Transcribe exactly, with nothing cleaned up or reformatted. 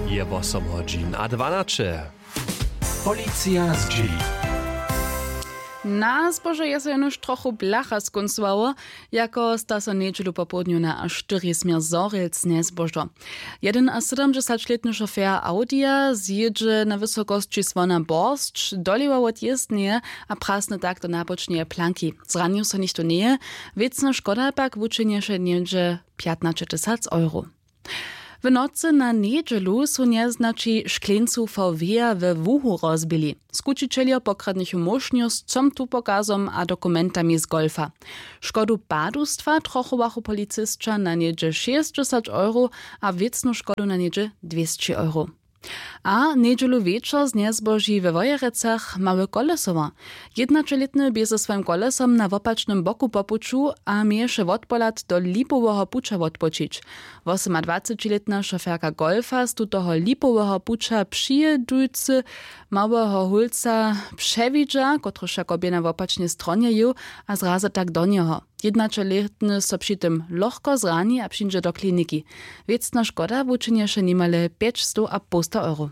Je wosomhodźin a dwanaće. Policija zdźěli. Na zbožo je so jenož trochu blacha skóncowało, jako sta so njedźelu popołdnju na a štyri směr zhorjelc njezbožo. Jedynasydomdźesaćlětny šofjer audija zjědźe na wysokosći słona borsć dolewa wot jězdneje a prasny tak do nabočneje planki. Zranił so nichtó njeje. Wěcna škoda pak wučinješe něhdźe pjatnaćetysac euro. W nocy na njedźelu su njeznaći škleńcu vw we łuhu rozbili. Skućićeljo pokradnychu móšnju z comtupokazom a dokumentami z golfa. Škodu padustwa trochowachu policysća na něhdźe šěsćdźesać euro a wěcnu škodu na něhdźe dwěsći euro. A njedźelu wječor znjezboži we wojerecach mały kolesowa. Jednaćelětny bě ze swojim kolesom na wopačnym boku po puću a měješe wotpohlad do lipoweho puća wotpočić. Wosomadwacećilětna šoferka golfa z tutoho lipoweho puća přijědujcy małyho hólca přewidźa, kotryž jako bě na wopačnej stronje jěł, a zrazy tak do njeho. Jednaćelětny so při tym lochko zrani a přińdźe do kliniki. Wěcna škoda wučinješe nimale pjećstow a połsta euro.